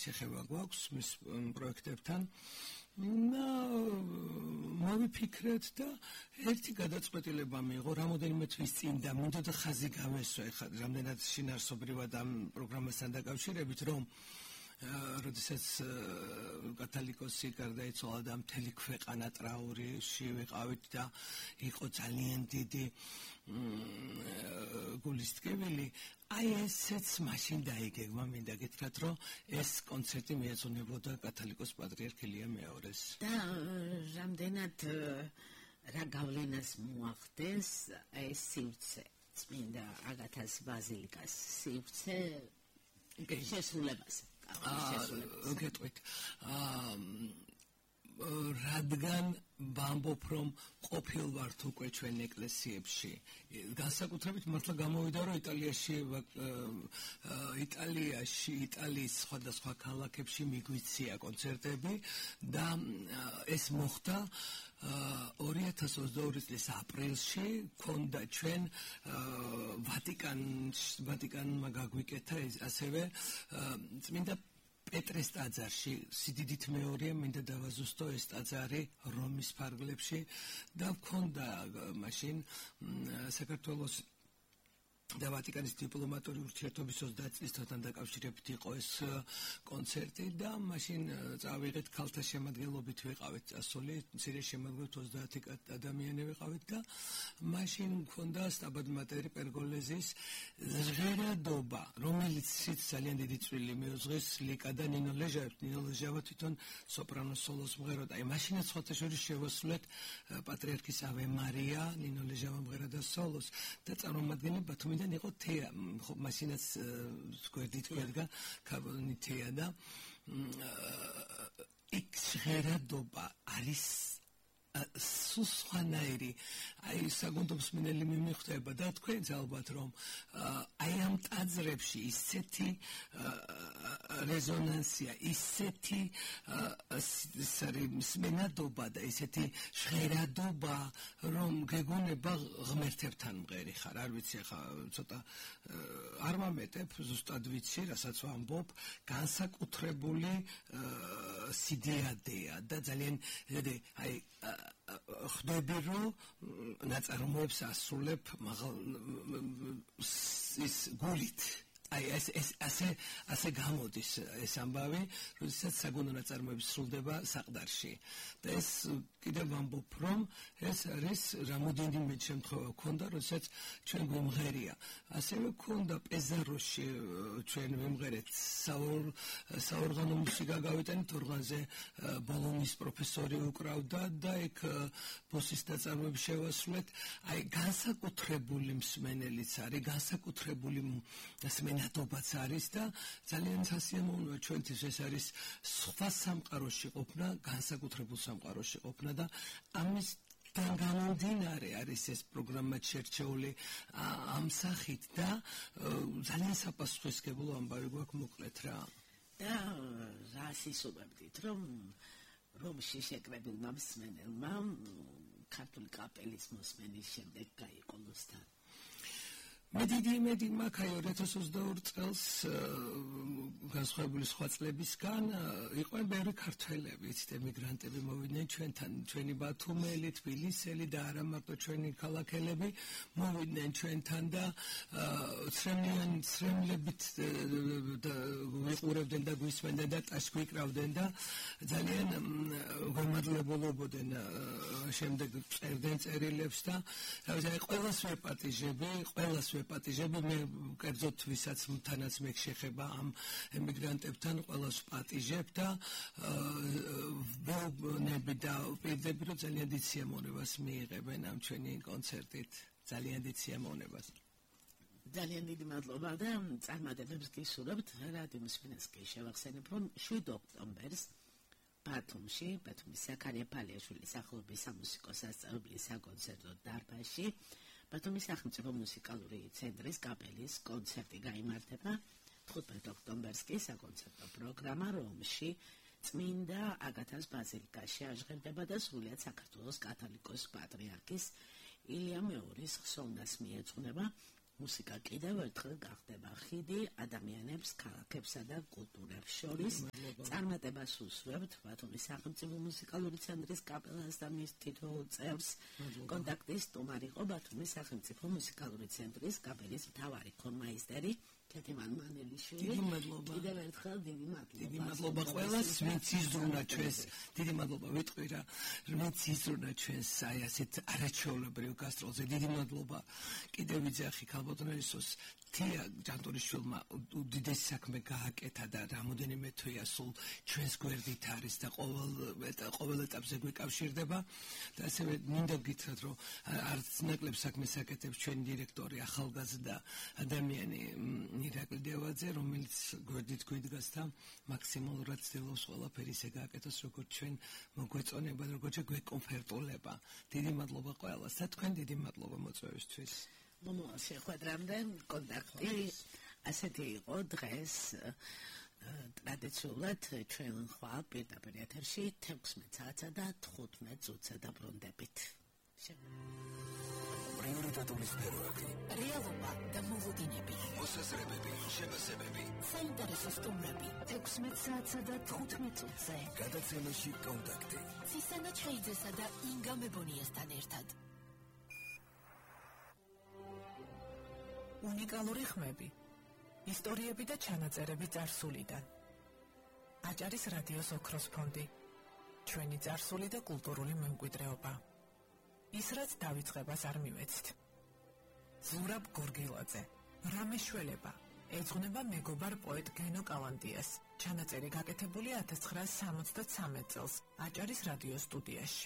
შეხება გვაქვს მის პროექტებთან. მოვიფიქრეთ და ერთი გადაწყვეტილება მიიღო რამოდენიმე თვის წინ და მინდოდა ხაზი გამესვა ეხლა რამდენად შინაარსობრივად ამ პროგრამასთან დაკავშირებით რომ როდესაც კათოლიკოსი გარდაიცვალა და მთელი ქვეყანა ტრაურში ვიყავით და იყო ძალიან დიდი გულისტკივილი აი ესეც მაშინ დაიგეგმა მინდა გითხრათ რომ ეს კონცერტი მიეძღვნებოდა კათოლიკოს პატრიარქ ილია მეორეს და რამდენად რა გავლენას მოახდენს ეს სივრცე წმინდა აგათას ბაზილიკას სივრცე შესრულებაზე გეტყვით რადგან ვამბობ რომ ყოფილ ვართ უკვე ჩვენ ეკლესიებში განსაკუთრებით მართლა გამოვიდა რომ იტალიის სხვადასხვა ქალაქებში მიგვიცია კონცერტები და ეს მოხდა 2022 წლის აპრილში ქონდა ჩვენ ვატიკანმა გაგვიკეთა ასევე წმინდა პეტრეს ტაძარში სიდიდით მეორეა მინდა დავაზუსტო ეს ტაძარი რომის ფარგლებში და მქონდა მაშინ საქართველოს და ვატიკანის დიპლომატიური ურთიერთობის 30 წლისთან დაკავშირებით იყო ეს კონცერტი და მაშინ წავიღეთ ქალთა შემადგენლობით ვიყავით წასული მცირე შემადგენლობით 30 ადამიანი ვიყავით და მაშინ მქონდა სტაბად მატერი პერგოლეზის ჟღერადობა რომელიც ძალიან დიდი წვლილი მიუძღვის ლიკა და ნინო ლეჟავა თვითონ სოპრანო სოლოს მღეროდა აი მაშინაც სხვათა შორის შევასრულეთ პატრიარქის ავე მარია ნინო ლეჟავა მღეროდა სოლოს და წარმომადგენელი ბათუმიდან იყო თეა ხო მაშინაც გვერდით გვერდგა ქაბონი თეა და იქ ჟღერადობა არის სუსხანაირი აი საგუნდობს მინელი მიმიხდება და თქვენც ალბათ რომ აი ამ ტაძრებში ისეთი რეზონანსია ისეთი სმენადობა და ისეთი ჟღერადობა რომ გეგონება ღმერთებთან მღერი ხარ არ ვიცი ახლა ცოტა არ მომეტებ ზუსტად ვიცი რასაც ვამბობ განსაკუთრებული სიდეადეა და ძალიან აი ხდები რომ ნაწარმოებს ასრულებ ის გულით აი ასე გამოდის ეს ამბავი როდესაც საგუნდო ნაწარმოები სრულდება საყდარში და ეს კიდევ ვამბობ რომ ეს არის რამოდენიმე შემთხვევა ქონდა როდესაც ჩვენ გვიმღერია ასევე ქონდა პეზაროში ჩვენ ვიმღერეთ საორგანო მუსიკა გავიტანით ორგანზე ბოლონის პროფესორი უკრავდა და იქ ბოსის ნაწარმოები შევასრულეთ აი განსაკუთრებული მსმენელიც არის განსაკუთრებული სმენადობაც არის და ძალიან სასიამოვნოა ჩვენთვის ეს არის სხვა სამყაროში ყოფნა განსაკუთრებულ სამყაროში ყოფნა და ამის გამომდინარე არის ეს პროგრამა შერჩეული ამ სახით და ძალიან საპასუხისმგებლო ამბავი გვაქვს მოკლედ რა და რას ისურვებდით რომ რომში შეკრებილმა მსმენელმა ქართული კაპელის მოსმენის შემდეგ გაიყოლოს თან მედი მაქვს 2022 წელს განსხვავებული სხვა წლებისგან იყვნენ ბევრი ქართველები, იცით, ემიგრანტები მოვიდნენ ჩვენთან, ჩვენი ბათუმელი, თბილისელი და არა მარტო ჩვენი ქალაქელები მოვიდნენ ჩვენთან და ცრემლებით ვიყურებდნენ და გვისმენდნენ და ტაშს გვიკრავდნენ და ძალიან გამადლებულობდნენ შემდეგ წერდნენ წერილებს და ყველას ვეპატიჟები მე კერძოდ ვისაც თანაც მე შეხება ამ ემიგრანტებთან ყველას პატიჟებ და ვეუბნები და ვპირდები რომ ძალიან დიდ სიამოვნებას მიიღებენ ამ ჩვენი კონცერტით ძალიან დიდ სიამოვნებას ძალიან დიდი მადლობა და წარმატებებს გისურვებთ რადიო მსმენელს შევახსენებ რომ 7 ოქტომბერს ბათუმში ბათუმის ზაქარია ფალიაშვილის სახელობის სამუსიკო სასწავლებლის საკონცერტო დარბაზში ბათუმის სახელმწიფო მუსიკალური ცენტრის კაპელის კონცერტი გაიმართება 15 ოქტომბერს კი საკონცერტო პროგრამა რომში წმინდა აგათას ბაზილიკაში აღჟღერდება და სრულიად საქართველოს კათოლიკოს პატრიარქის ილია მეორის ხსოვნას მიეძღვნება მუსიკა კიდევ ერთხელ გახდება ხიდი ადამიანებს, ქალაქებსა და კულტურებს შორის. წარმატებას უსურვებთ ბათუმის სახელმწიფო მუსიკალური ცენტრის კაპელას და მის თითოეულ წევრს. კონტაქტის სტუმარი იყო ბათუმის სახელმწიფო მუსიკალური ცენტრის კაპელის მთავარი ხორმაისტერი კეთიმან მანელიშვილი. კიდევ ერთხელ დიდი მადლობა. დიდი მადლობა ყველას, ვინც იზრუნა ჩვენს. დიდი მადლობა ვიტყვი რა, ვინც იზრუნა ჩვენს აი ასეთ არაჩვეულებრივ გასტროლზე. დიდი მადლობა კიდევ ვიძახი ქალბატონელისოს თია ჯანტონიშვილმა უდიდესი საქმე გააკეთა და რამოდენიმე თვეა სულ ჩვენს გვერდით არის და ყოველ ეტაპზე გვეკავშირდება და ასევე მინდა გითხრათ რომ არც ნაკლებ საქმეს აკეთებს ჩვენი დირექტორი ახალგაზრდა ადამიანი ირაკლი დევაძე რომელიც გვერდით გვიდგას და მაქსიმალურად ცდილობს ყველაფერი ისე გააკეთოს როგორც ჩვენ მოგვეწონება როგორც გვეკომფორტულება. დიდი მადლობა ყველას და თქვენ დიდი მადლობა მოწვევისთვის. მომავალ შეხვედრამდე კონტაქტი ასეთი იყო დღეს ტრადიციულად ჩვენ ხვალ პირდაპირ ეთერში 16 საათსა და 15 წუთზე დაბრუნდებით. პრიორიტეტული სფეროები, რეალობა და მოლოდინები, მოსაზრებები, შემოსევები, საინტერესო სტუმრები 16 საათსა და 15 წუთზე. გადაცემაში კონტაქტი. ცისანა ჩხეიძესა და ინგა მებონიასთან ერთად. უნიკალური ხმები, ისტორიები და ჩანაწერები წარსულიდან. აჭარის რადიოს ოქროს ფონდი. ჩვენი წარსული და კულტურული მემკვიდრეობა. ის რაც დავიწყებას არ მივეცით. ზურაბ გორგილაძე, რამე შველება, ეძღვნება მეგობარ პოეტ გენო კალანდიას. ჩანაწერი გაკეთებული 1973 წელს აჭარის რადიოს სტუდიაში.